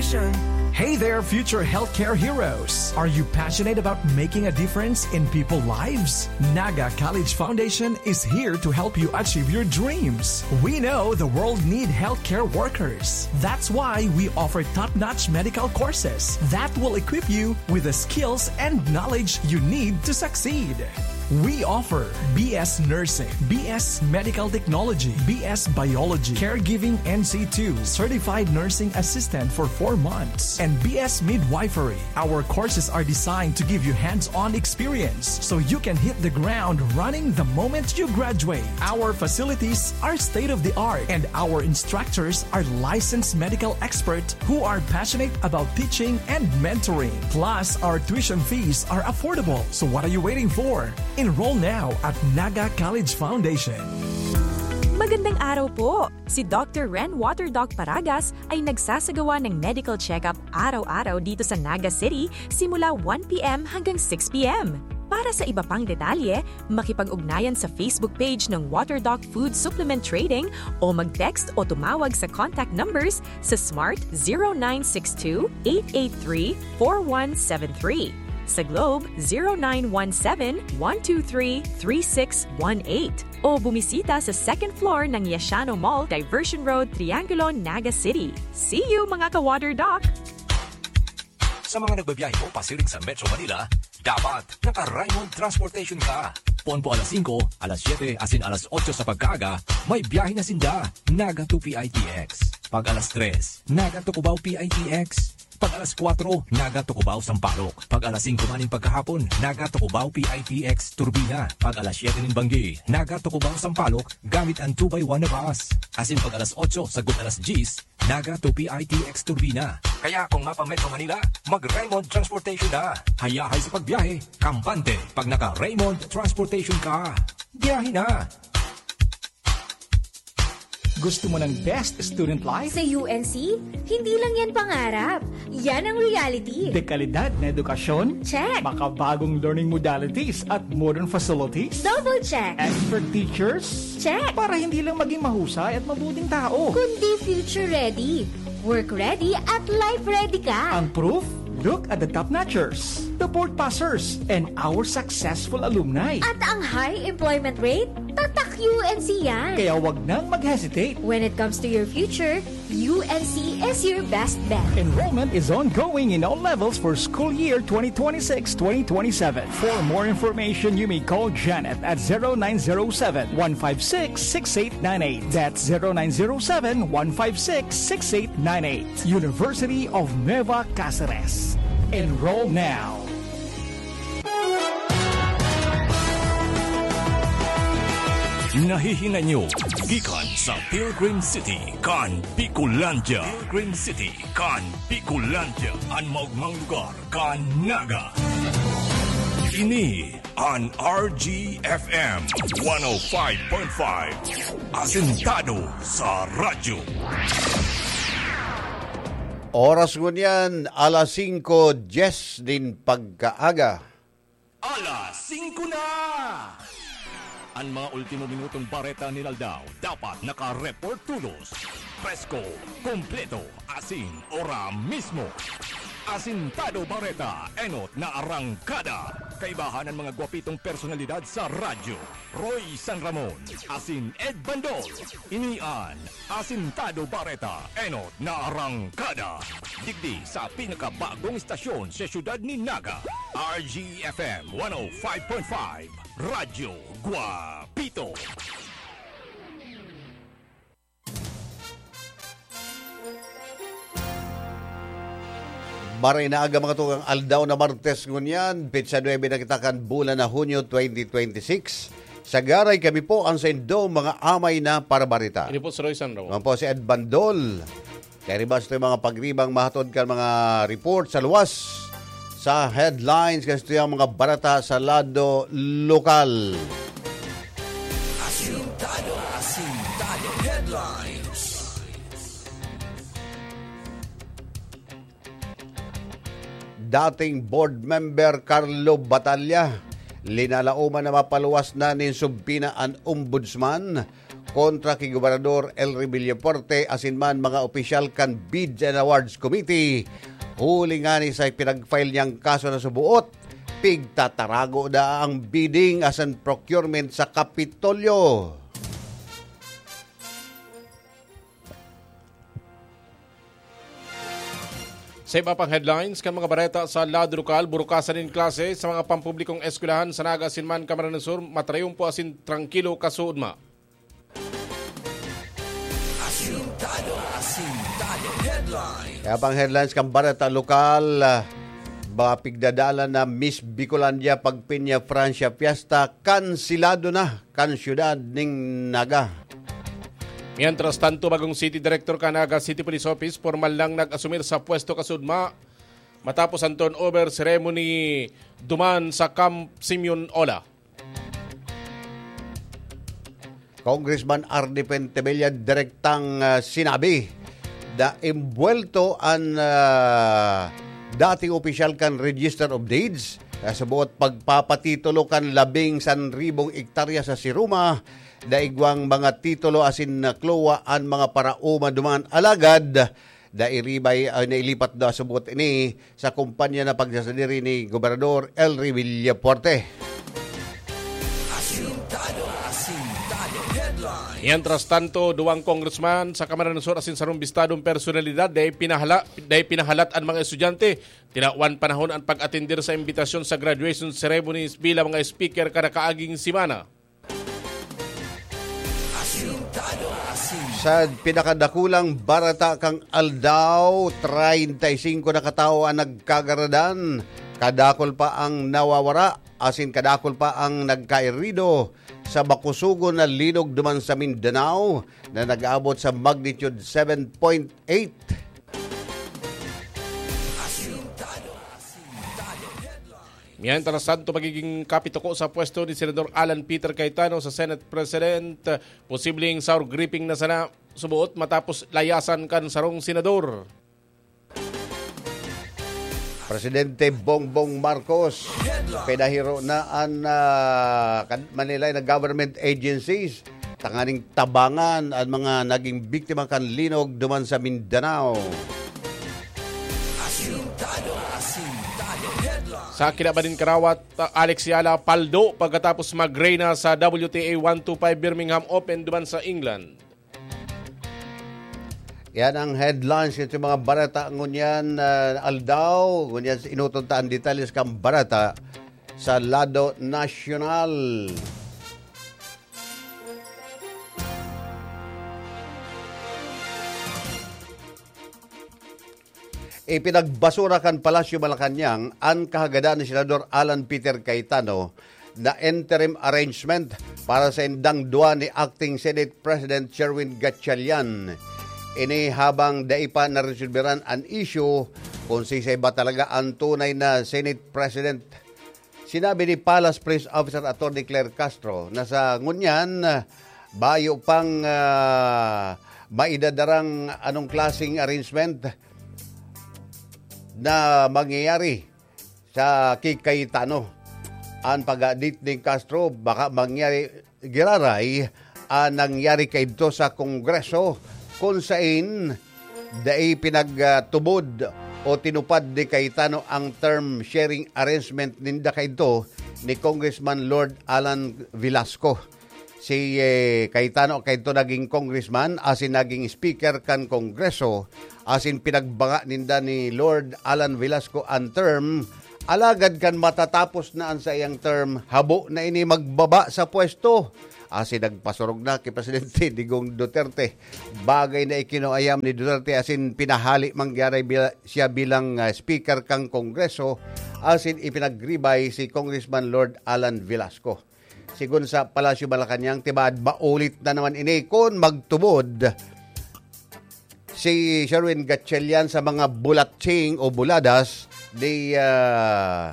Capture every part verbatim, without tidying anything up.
Hey there, future healthcare heroes! Are you passionate about making a difference in people's lives? Naga College Foundation is here to help you achieve your dreams. We know the world need healthcare workers. That's why we offer top-notch medical courses that will equip you with the skills and knowledge you need to succeed. We offer B S Nursing, B S Medical Technology, B S Biology, Caregiving N C two, Certified Nursing Assistant for four months, and B S Midwifery. Our courses are designed to give you hands-on experience so you can hit the ground running the moment you graduate. Our facilities are state-of-the-art, and our instructors are licensed medical experts who are passionate about teaching and mentoring. Plus, our tuition fees are affordable. So what are you waiting for? Enroll now at Naga College Foundation. Magandang araw po! Si Doctor Ren Water Doc Paragas ay nagsasagawa ng medical check-up araw-araw dito sa Naga City simula one p m hanggang six p m. Para sa iba pang detalye, makipag-ugnayan sa Facebook page ng Water Doc Food Supplement Trading o mag-text o tumawag sa contact numbers sa Smart zero nine six two eight eight three four one seven three, sa Globe zero nine one seven one two three three six one eight o bumisita sa second floor ng Yashano Mall, Diversion Road, Triangulo, Naga City. See you, mga ka-Water Doc! Sa mga nagbabiyahe po pasiring sa Metro Manila, dapat naka-Raymond Transportation ka. Ponpo alas singko, alas siyete, asin alas otso sa pagkaaga, may biyahe na sinda. Naga to P I T X. Pag alas tres, Naga to Cubao P I T X. Pag alas kwatro, Naga to Cubao Sampaloc. Pag alas singko maning pagkahapon, Naga to Cubao P I T X Turbina. Pag alas siyete nin banggi, Naga to Cubao Sampaloc gamit ang two by one na bus. Asin pag alas otso sagkod alas dyes, Naga to P I T X Turbina. Kaya kung mapa-Metro Manila, mag-Raymond Transportation na. Hayahay sa pagbiyahe, kampante pag naka-Raymond Transportation ka. Biyahe na! Gusto mo ng best student life? Sa U N C, hindi lang yan pangarap. Yan ang reality. Dekalidad na edukasyon? Check. Makabagong learning modalities at modern facilities? Double check. Expert teachers? Check. Para hindi lang maging mahusay at mabuting tao. Kundi future ready, work ready at life ready ka. Ang proof? Look at the top notchers, the board passers, and our successful alumni. At ang high employment rate? Tatak U N C yan. Kaya wag nang mag-hesitate. When it comes to your future, U N C is your best bet. Enrollment is ongoing in all levels for school year twenty twenty-six twenty twenty-seven. For more information, you may call Janet at zero nine zero seven, one five six, six eight nine eight. That's zero nine zero seven, one five six, six eight nine eight. University of Nueva Caceres. Enroll now. Nahihinay nyo gikan sa Pilgrim City kan Bicolandia. Pilgrim City kan Bicolandia, an maogmang lugar kan Naga. Ini an R G F M one oh five point five, asentado sa radyo. Oras ngunyan, alas singko dyes nin pagkaaga. Alas singko na! An mga ultimo minutong bareta nin aldaw dapat naka-report todos. Presko, kompleto, asin ora mismo. Asintado Bareta, enot na arangkada. Kaibahan an mga gwapitong personalidad sa radyo. Roy San Ramon, asin Ed Bandol. Ini an Asintado Bareta, enot na arangkada. Digdi sa pinakabagong istasyon sa siyudad nin Naga, R G F M one oh five point five, Radyo Guapito. Maray na aga, mga tugang, aldaw na Martes ngunyan, petsa nuebe na kita kan bulan na Hunyo twenty twenty-six. Sagaray kami po an saindo mga amay na parabarita. Ini po si Roy San Ramon. Ako po si Ed Bandol. Kaya riba sa mga pagribang mahatod kan mga report sa luwas, sa headlines, kan saindong mga bareta sa lado lokal. Asintado, asintado headlines. Dating board member Carlo Batalla, linalaoman na mapaluwas na nin subpina an ombudsman kontra ki Gobernador Elry Villafuerte asin man mga opisyal kan Bids and Awards Committee. Huli ngani sa pinag-file niyang kaso na subuot, pigtatarago na ang bidding asin procurement sa Kapitolyo. Sa iba pang headlines kan mga bareta sa lado lokal, burukasan nin klase sa mga pampublikong eskwelahan sa Naga asin man Camarines Sur, matrayumpo asin trangkilo kasuodma. Asintado, asintado headline. Kaya pang headlines kan bareta lokal, ah, ba pigdadalan na Miss Bicolandia Pagpinya Francia Fiesta, kansilado na kan siyudad nin Naga. Mientras tanto, bagong city director kan Naga City Police Office, pormal nang nag-asumir sa pwesto kasuodma matapos ang turnover ceremony duman sa Camp Simeon Ola. Congressman Arnie Pentebella direktang, ah, sinabi na imbuwelto an, ah, dating opisyal kan Register of Deeds sa subuot pagpapatitulo kan labing sanribong ektarya sa Siruma. Daigwang mga titulo asin nakluwa an mga paraoma duman, alagad nairibay, ay, nailipat na subuot ini sa kumpanya na pagsasadiri ni Gobernador Elry Villafuerte. Asintado, asintado headline. Mientras tanto, duwang congressman sa Camarines Sur asin sarong bistadong personalidad dai pinahala-, dai pinahalat an mga estudyante. Tinawan panahon ang pag-atender sa imbitasyon sa graduation ceremonies bilang mga speaker kada kaaging semana. Asintado, asintado. Sa pinakadakulang barata kan aldaw, treinta y cinco na katawo ang nagkagaradan. Kadakul pa ang nawawara, asin kadakul pa ang nagkairido sa makusugon na linog duman sa Mindanao na nag-abot sa magnitude seven point eight. Asintado, asintado headline. Mientras tanto, magiging kapituko sa pwesto ni Senador Alan Peter Cayetano sa Senate President. Posibleng sour gripping na sana subuot matapos layasan kan sarong senador. Presidente Bongbong Marcos, pinahiro na an, ah, kan-, Manila na government agencies tanganing tabangan an mga naging biktima kan linog duman sa Mindanao. Asintado, asintado headline. Sa kinaban nin karawat, uh, Alex Yala paldo pagkatapos magreyna sa W T A one two five Birmingham Open duman sa England. Yan ang headlines sa mga barata ngunyan, uh, aldaw. Ngunyan, inuton ta ang detalles kan barata sa lado nasyonal. Ipinagbasura kan Palasyo Malacañang an kahagadan ni Senador Alan Peter Cayetano na interim arrangement para sa indang duwa ni Acting Senate President Sherwin Gatchalian. Ini habang dai pa naresolberan an isyu kung sisay ba talaga ang tunay na Senate President. Sinabi ni Palace Press Officer Attorney Claire Castro na sa ngunyan, bayo pang, ah, maidadarang anong klaseng arrangement na mangyayari sa ki Cayetano. An pag-adit ni Castro, baka mangyari giraray ang nangyari kaidto sa Kongreso, kun sain dai pinagtubod o tinupad ni Cayetano ang term sharing arrangement ninda kaidto ni Congressman Lord Alan Velasco. Si, eh, Cayetano kaidto naging congressman asin naging speaker kan Kongreso, asin pinagbanga ninda ni Lord Alan Velasco an term. Alagad kan matatapos na an saiyang term, habo na ini magbaba sa pwesto. Asin nagpasurog na ki Presidente Digong Duterte. Bagay na ikinuayam ni Duterte asin pinahali mangyari bila-, siya bilang, ah, speaker kan Kongreso asin ipinagribay si Congressman Lord Alan Velasco. Sigon sa Palasyo Malacañang, tibaad maulit na naman ini kun magtubod si Sherwin Gatchalian sa mga bulatsing o buladas ni, ah,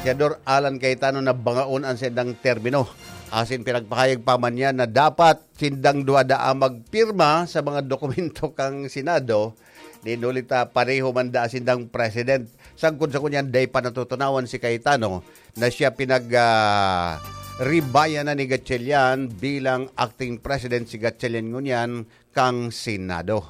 Senador Alan Cayetano na bangaon an sindang termino. Asin pinagpahayag pa man niya na dapat sindang duwa daa magpirma sa mga dokumento kan Senado, nin huli ta pareho man daa sindang president. Sagkod sa ngunyan, dai pa natutunawan si Cayetano na siya pinag, ah, Ribaya na ni Gatchalian bilang acting president si Gatchalian ngunyan kan Senado.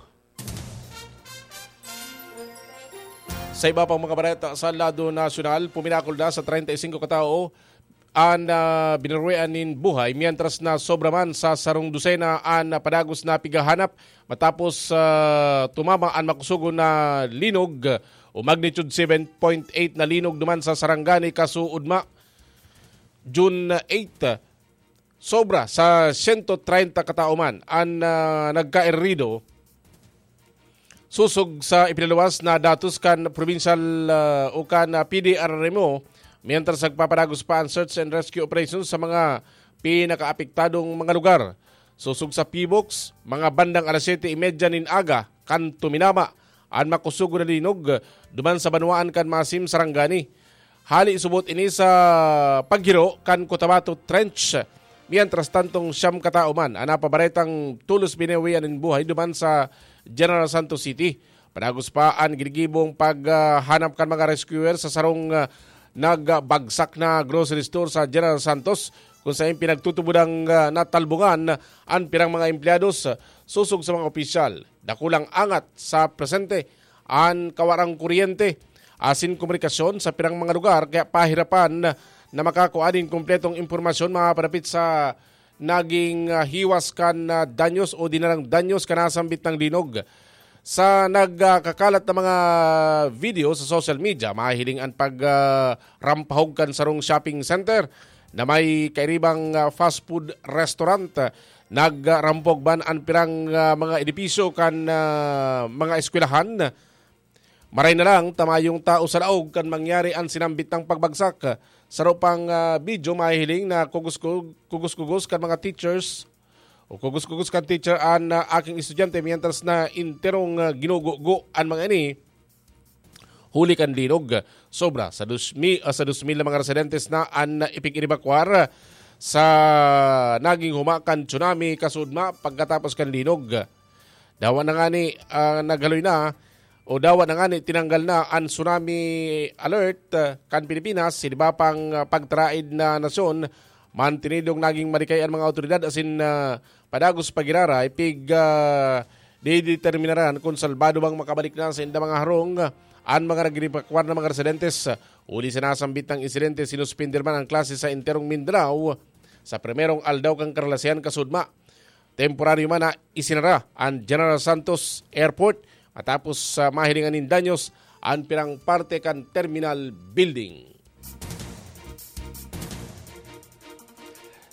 Sa iba pang mga bareta sa lado nasyonal, puminakol na sa treinta y cinco katao an, ah, binuruean nin buhay, mientras na sobra man sa sarong dosena an padagos na pighahanap matapos, ah, tumama an makusugon na linog o magnitude seven point eight na linog duman sa Sarangani, Casuudma, June eight. Sobra sa sento treinta katao man an, ah, nagkaerido. Sosog sa ipinaluwas na datos kan provincial, ah, o kan, ah, P D R R M O, mientras nagpapadagos pa ang search and rescue operation sa mga pinakaapektadong mga lugar. Sosog sa P box, mga bandang alas siyete y media nin aga kan tuminama an makusugon na linog duman sa banwaan kan Masim, Sarangani. Hali subot ini sa paghiro kan Cotabato Trench. Mientras tantong siyam katao man an napabaretang tolos binuwian nin buhay duman sa General Santos City. Padagos pa an ginigibong paghanap kan mga rescuer sa sarong, ah, nagbagsak na grocery store sa General Santos, kung saen pinagtutubodang, ah, natalbongan an pirang mga empleyados, ah, sosog sa mga opisyal. Dakulang angat sa presente an kawarang kuryente asin komunikasyon sa pirang mga lugar, kaya pahirapan na makakua nin kumpletong impormasyon mapapanapit sa naging, ah, hiwas kan, ah, danyos o dinarang danyos kan nasambit na linog. Sa nagkakalat na mga video sa social media, mahiling an pag, ah, rampahog kan sarong shopping center na may kairibang, ah, fast food restaurant. Nagrampog man an pirang, ah, mga edipisyo kan, ah, mga eskwelahan. Maray na lang ta mayong tao sa laog kan mangyari an sinambit na pagbagsak. Saro pang, ah, video mahihiling na kugos-kug-, kugos-kugos kan mga teachers o kugos-kugos kan teacher an, ah, aking estudyante, mientras na enterong, ah, ginugugo an mga ini huli kan linog. Sobra sa dos mil, ah, sa dos mil na mga residentes na an ipig-inebakwar sa naging huma kan tsunami, Casuudma, pagkatapos kan linog. Dawa na ngani, ah, naghaloy na o dawa na ngani tinanggal na an tsunami alert, ah, kan Pilipinas, sa iba pang, ah, pagtaraid na nasyon, mantinidong naging marikay an mga awtoridad asin, ah, padagos pa giraray, pig, ah, dideterminaran kun salbado bang makabalik na sa inda mga harong, ah, an mga nagrebakwar na mga residentes. Huli sa nasambit na insidente, sinuspender man an klase sa enterong Mindanao sa primerong aldaw kan karalasehan, Casuudma. Temporaryo man na isinara an General Santos Airport matapos, ah, mahilingan nin danyos an pirang parte kan terminal building.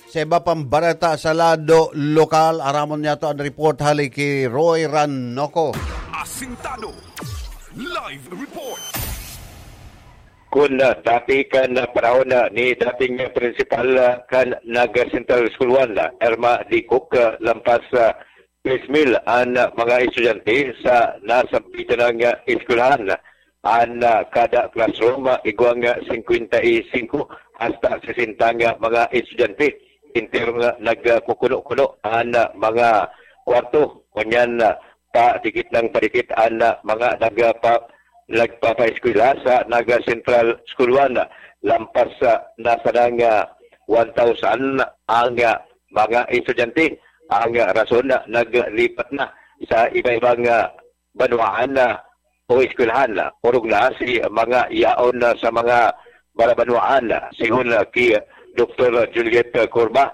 Sa iba pang bareta sa lado lokal, aramon niyato an report hali ki Roy Ranoco. Asintado. Live report. Kun, ah, dati kan, ah, panahon, ah, ni dating, ah, prinsipal, ah, kan Naga Central School one, ah, Irma Dicok, ah, lampas, ah, tres mil an, ah, mga estudyante sa nasambitan na, ah, eskwelahan. An, ah, kada classroom, ah, igwang, ah, singkwenta y singko hasta sesenta nga mga estudyante. Entero nga nagkukuno-kuno an, ah, mga kwarto. Ngunyan, ah, padikit nang padikit an, ah, mga nagpa-, nagpapaeskwela sa Naga Central School one. Lampas, ah, na sana nga one thousand ang, ah, mga estudyante. Ang, ah, rason na naglipat na sa iba-ibang, ah, banwaan na o eskwelahan na. Orog na si mga yaon na sa mga barabanwaan na. Sigon na ki Doktor Juliet Corba,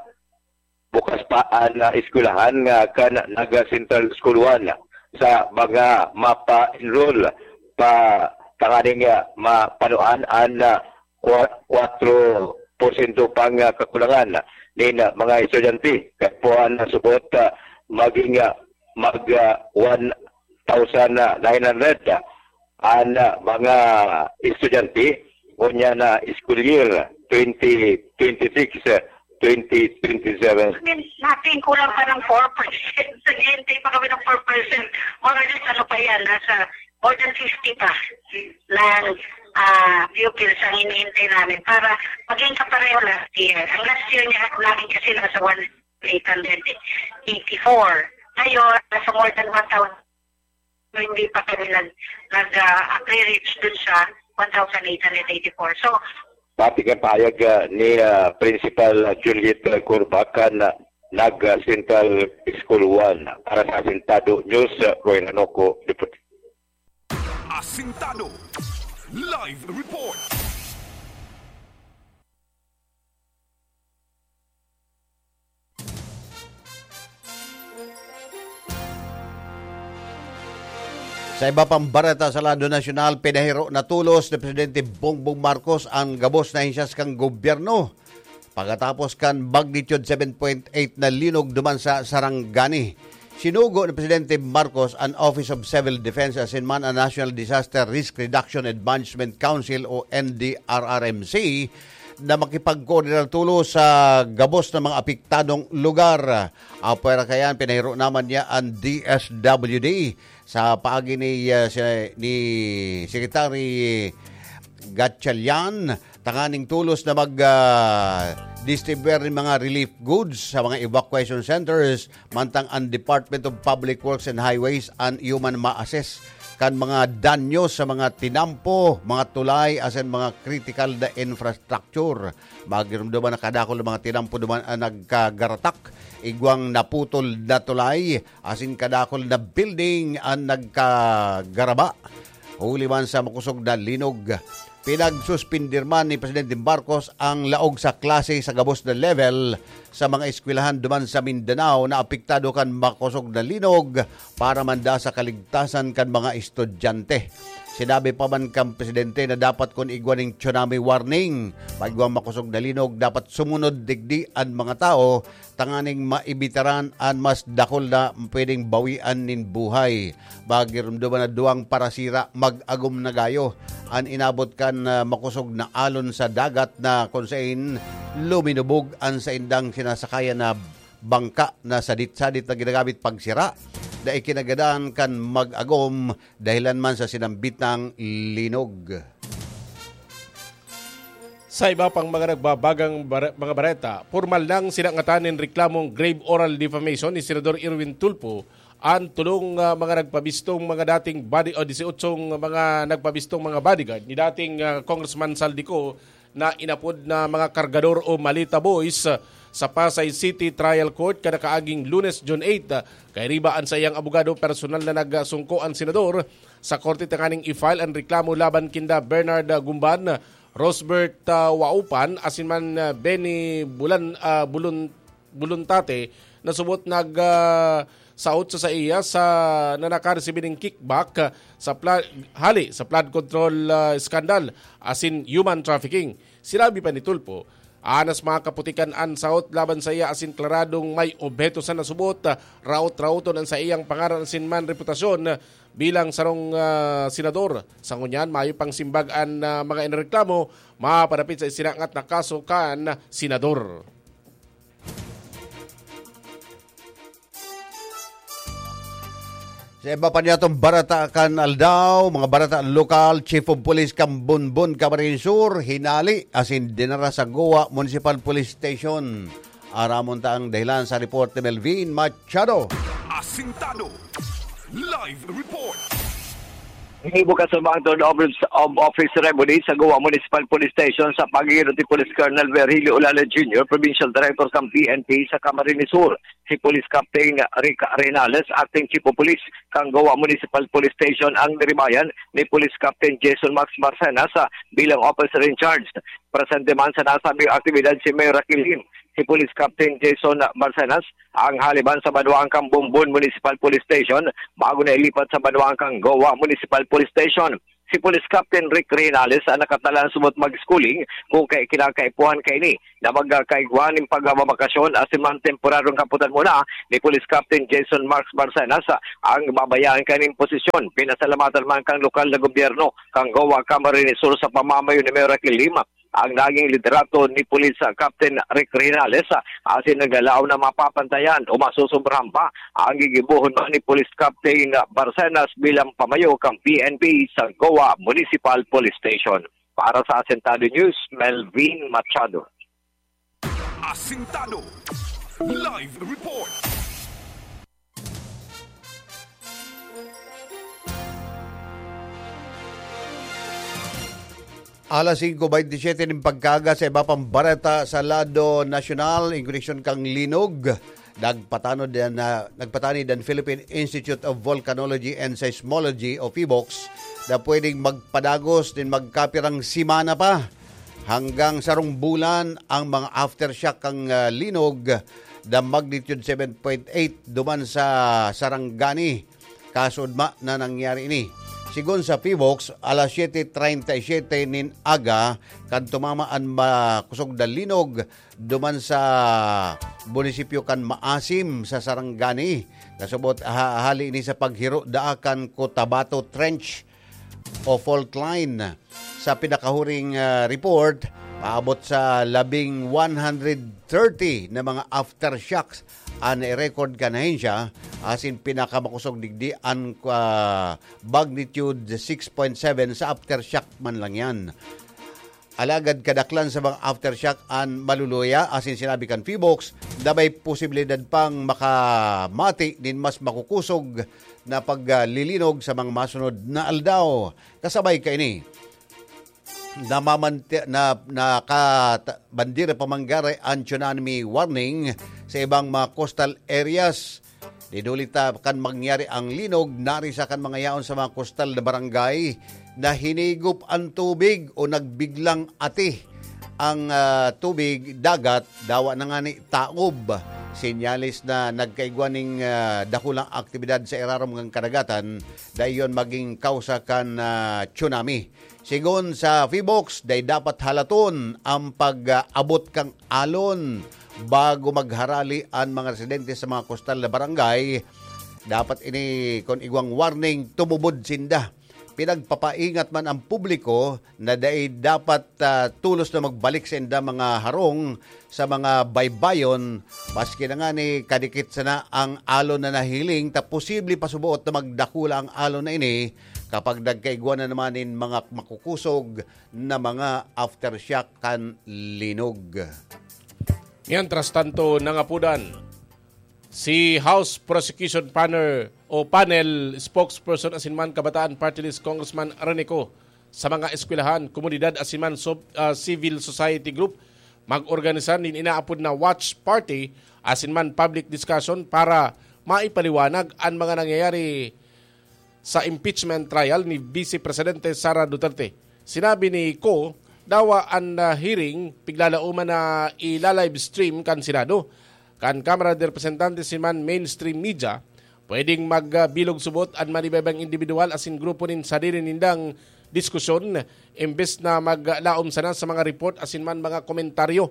bukas pa an, ah, eskwelahan nga kan Naga Central School one sa mga mapa-enroll pa tanganing, ah, mapanuan an, ah, kwa-, kwatro porsyento pang, ah, kakulangan nin, ah, mga estudyante. Kaya po ang subot, ah, maging, ah, mag, ah, one thousand nine hundred, ah, an, ah, mga estudyante ngunyan na school year twenty twenty-six, ah, twenty twenty-seven. Natin kulang pa ng four percent. Naghihintay pa kami ng four percent. Mga ano pa yan, nasa more than fifty pa ng, ah, pupils ang hinihintay namin para maging kapareho last year. Ang last year niya namin kasi nasa one eight hundred eighty-four. Ngayon, nasa more than one thousand. Hindi pa kami nag, nag, ah, reach dun sa one thousand eight hundred eighty-four. So, Pati kan pahayag, ah, ni, ah, Principal Juliet Curva kan, ah, Naga Central School one. Para sa Asintado News, ah, Roy Nanoco, Deputy. Asintado Live Report. Sa iba pang bareta sa lado nasyonal, pinahiro na tolos ni Presidente Bongbong Marcos an gabos na ahensyas kan gobyerno pagkatapos kan magnitude seven point eight na linog duman sa Sarangani. Sinugo ni Presidente Marcos an Office of Civil Defense asin man an National Disaster Risk Reduction and Management Council o N D R R M C na makipagkoordinar tolos sa gabos na mga apektadong lugar. Apwera kaiyan, pinahiro naman niya an D S W D sa paagi ni, ah, si, ni Secretary Gatchalian tanganing tolos na mag, ah, distribuer nin mga relief goods sa mga evacuation centers, mantang an Department of Public Works and Highways an iyo man ma-assess kan mga danyo sa mga tinampo, mga tulay, asin mga kritikal na infrastructure. Magirumduman na kadakul na mga tinampo duman an nagkagaratak, igwang naputol na tulay, asin kadakul na building an nagkagaraba huli man sa makosog na linog. Pinagsuspindir man ni Presidente Marcos ang laog sa klase sa gabos na level sa mga eskwelahan duman sa Mindanao na apektado kan makosog na linog para man da sa kaligtasan kan mga estudyante. Sinabi pa man kan Presidente na dapat kun igwa ning tsunami warning, pag igwang makosog na linog, dapat sumunod digdi an mga tawo tanganing maibitaran an mas dakul na pwedeng bawian nin buhay. Magirumduman na duwang parasira mag-agom na gayo an inabot kan, ah, makosog na alon sa dagat na kun sain luminubog an saindang sinasakayan na bangka na sadit-sadit na ginagamit pagsira na ikinagadan kan mag-agom dahilan man sa sinambitang linog. Sa iba pang mga nagbabagang bare-, mga bareta, pormal nang sinangatan nin reklamong grave oral defamation ni Senador Erwin Tulfo an tolong, ah, mga nagpabistong mga dating body o dieciocho mga nagpabistong mga bodyguard ni dating, ah, Congressman Zaldy Co na inapod na mga kargador o maleta boys, ah, sa Pasay City Trial Court kada kaaging Lunes, June eight. Ah, kairiba an saiyang abogado, personal na nagsungko an senador sa korte tanganing i-file an reklamo laban kinda Bernard, ah, Gumban, Rosbert, ah, Waupan, asin man, ah, Benny Bulan-, ah, Bulun-, Buluntate na subot nag, ah, saot sa saiya sa, na nakaresibi nin kickback, ah, sa pla-, hali sa flood control, ah, scandal asin human trafficking. Sinabi pa ni Tulfo, anas mga kaputikan an saot laban saiya asin klaradong may obheto sa nasubot, ah, raot-raoton an saiyang pangaran asin man reputasyon, ah, bilang sarong, ah, senador. Sa ngunyan, mayo pang simbag an, ah, mga inareklamo mapadapit sa isinangat na kaso kan senador. Sa iba pa niyatong barata kan aldaw, mga barata lokal, Chief of Police kan Bonbon, Camarines Sur, hinali asin dinara sa Goa Municipal Police Station. Aramon ta ang dahilan sa report ni Melvin Machado. Asintado. Live report. Gibukas sa mga third office of office ceremony sa Goa Municipal Police Station sa paghihirot ni Police Colonel Virgilio Olale Junior, Provincial Director sa P N P sa Camarines Sur. Si Police Captain Rick Renales, Acting Chief of Police kan Goa Municipal Police Station, ang niribayan ni Police Captain Jason Max Barcenas, ah, bilang officer in charge. Presente man sa nasabing aktibidad si Mayor Raquel Lim. Si Police Captain Jason Barcenas ang haliban sa banwaan kan Bonbon Municipal Police Station bago na ilipat sa banwaan kan Goa Municipal Police Station. Si Police Captain Rick Renales ang nakatalang subot mag-schooling kung kay kinakaipuhan kaini na magkakaigwa nin pagbabakasyon asin man temporaryong kaputan muna ni Police Captain Jason Marks Barcenas ang babayaan kaning posisyon. Pinasalamatan man kan lokal na gobyerno kan Goa Camarines Sur sa pamamayo ni Mayor Raquel Lim ang naging liderato ni Police Captain Rick Renales, asin naglalaom na mapapantayan o masusobrahan pa ang gigibohon ni Police Captain Barcenas bilang pamayo kan P N P sa Goa Municipal Police Station. Para sa Asintado News, Melvin Machado. Asintado. Live report. Alas singko baynte siyete nin pagkaaga. Sa iba pang bareta sa lado nasyonal, in koneksyon kan linog, nagpatanod yan na, nagpatanid an Philippine Institute of Volcanology and Seismology o PHIVOLCS na pwedeng magpadagos nin magkapirang semana pa hanggang sarong bulan ang mga aftershock kan, ah, linog na magnitude seven point eight duman sa Sarangani. Kasuodma na nangyari ini. Sigon sa PHIVOLCS, alas siyete treinta y siete nin aga kan tumama an makusog na linog duman sa munisipyo kan Maasim sa Sarangani. Kasubot ha-, hali ini sa paghiro daa kan Cotabato Trench o fault line. Sa pinakahuring, ah, report, paabot sa labing one hundred thirty na mga aftershocks an record kan ahensya, asin pinakamakosog digdi an, ah, magnitude six point seven sa aftershock man lang yan. Alagad kadaklan sa mga aftershock an maluluya, asin sinabi kan PHIVOLCS na may posibilidad pang makamati nin mas makukusog na paglilinog sa mga masunod na aldaw. Kasabay kaini, namamanti-, na, nakata-, bandera pa man giraray an tsunami warning sa ibang mga coastal areas. Dinuli ta kan mangyari ang linog, narisa kan mga yaon sa mga coastal na barangay na hinigop an tubig o nagbiglang ati ang, ah, tubig dagat, dawa na ngani taob. Senyales na nagkaigwa ning, ah, dakulang aktibidad sa irarom kan kadagatan, dayon magin kausa kan, ah, tsunami. Sigon sa PHIVOLCS, dai dapat halaton ang pag-abot kan alon bago magharali an mga residente sa mga kostal na barangay. Dapat ini, kun igwang warning, tumubod sinda. Pinagpapaingat man ang publiko na dai dapat, ah, tolos na magbalik sa inda mga harong sa mga baybayon, maski na ngani kadikit sana ang alon na nahiling, ta posible pa suboot na magdakula ang alon na ini kapag nagkaigwa na naman nin mga makukusog na mga aftershock kan linog. Mientras tanto, nangapudan si House Prosecution Panel o Panel Spokesperson asin man Kabataan Party List Congressman Rene Co sa mga eskwelahan, komunidad asin man sob-, ah, civil society group mag-organisar nin inaapod na watch party asin man public discussion para maipaliwanag an mga nangyayari sa impeachment trial ni Vice Presidente Sara Duterte. Sinabi ni Co, dawa an, ah, hearing piglalauman na ila-live stream kan Senado, kan Kamara de Representantes asin man mainstream media. Pwedeng magbilog subot an manibaybang indibidwal asin grupo nin sadiri nindang diskusyon, imbes na maglaom sana sa mga report asin man mga komentaryo.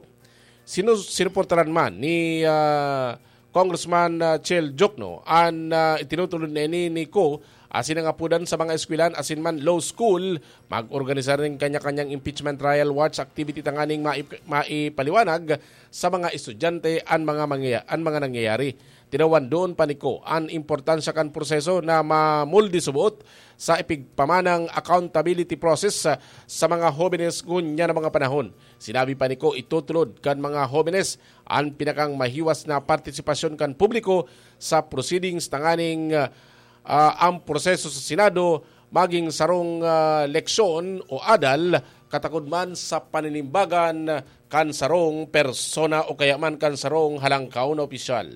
Sinu-, sinuportaran man ni, ah, Congressman, ah, Chel Diokno an, ah, itinutulod na ini ni Co asin nangapudan sa mga eskwelahan asin man law school, mag-organisar nin kanya-kanyang impeachment trial watch activity tanganing maip-, maipaliwanag sa mga estudyante an mga mangya-, an mga nangyayari. Tinawan doon pa ni Co an importansya kan proseso na mamuldi subot sa ipigpamanang accountability process sa, sa mga hobenes ngunyan na mga panahon. Sinabi pa ni Co, itutulod kan mga hobenes an pinakang mahiwas na partisipasyon kan publiko sa proceedings tanganing, ah, ang proseso sa Senado maging sarong, ah, leksyon o adal, katakod man sa paninimbagan kan sarong persona o kaya man kan sarong halangkaw na opisyal.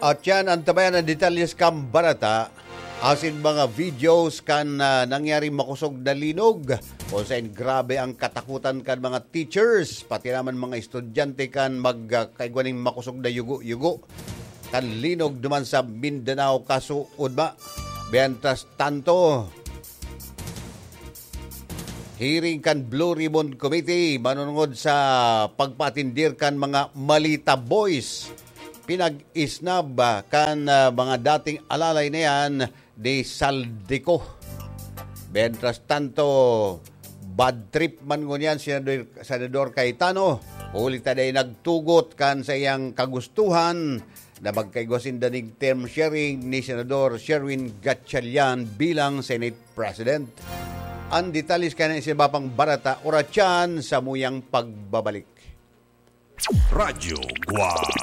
At yan, antabayan ang detalyes kan bareta, asin mga videos kan, ah, nangyaring makosog na linog, kung saan grabe ang katakutan kan mga teachers, pati naman mga estudyante kan mag, ah, kaigwa ning makosog na yugo-yugo kan linog duman sa Mindanao kasuodma. Mientras tanto, hearing kan Blue Ribbon Committee manunungod sa pagpaatindir kan mga Malita Boys. Pinag-isnab, ah, kan, ah, mga dating alalay na yan ni Zaldy Co. Mientras tanto, bad trip man ngunyan si Senador, Senador Cayetano, huli ta dai nagtugot kan sa iyang kagustuhan na magkaigwa sinda ning term sharing ni Senador Sherwin Gatchalian bilang Senate President. Ang detalye kan iba pang bareta, oras yan, samuyang pagbabalik. Radyo Guwang.